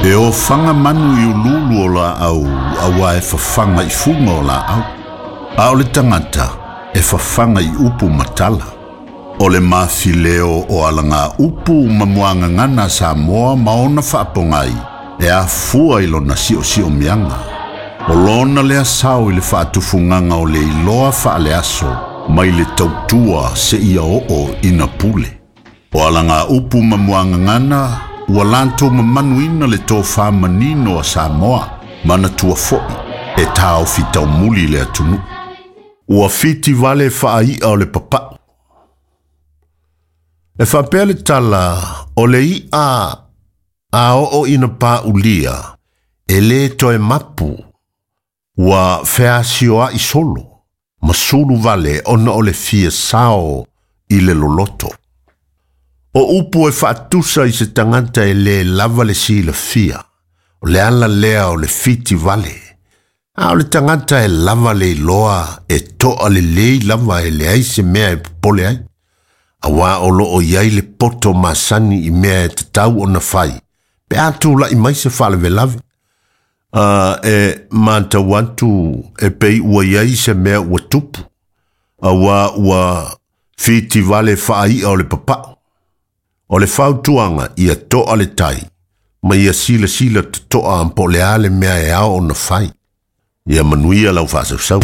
E ofaga manu i uluulu o laau auā e fafaga i fuga o laau. A o le tagata e fafaga i upu ma tala. O le mafileo o alagaupu ma muagagana a Samoa ma ona faapogai e afua i lona siosiomiaga. O lona lea sao i le faatufugaga o le iloa faaleaso mai le tautua seia oo ina pule. O alagaupu ma muagagana ua latou mamanuina le tofa manino a Samoa, manatua foi e taofi taumuli le atunuu. Ua fitivale faai'a o le papa'u. E faapea le tala o le i'a a oo ina pāulia e lē toe mapu ua feasioa'i solo ma sulu vale ona o le fia sao i le loloto. O upu e faatusa i se tagata e lē lava le silafia, o le ala lea o le fitivale. A o le tagata e lava le iloa e to'a lelei lava e leai se mea e popole ai. Auā o loo i ai le poto masani i mea e tatau ona fai, pe a tula'i mai se faalavelave. E matau atu e pei ua i ai se mea ua tupu, auā ua fitivale faai'a o le papa'u. O le fautuaga ia to'a le tai, ma ia silasila toto'a po o le a le mea e ao ona fai. Ia manuia lau faasausau.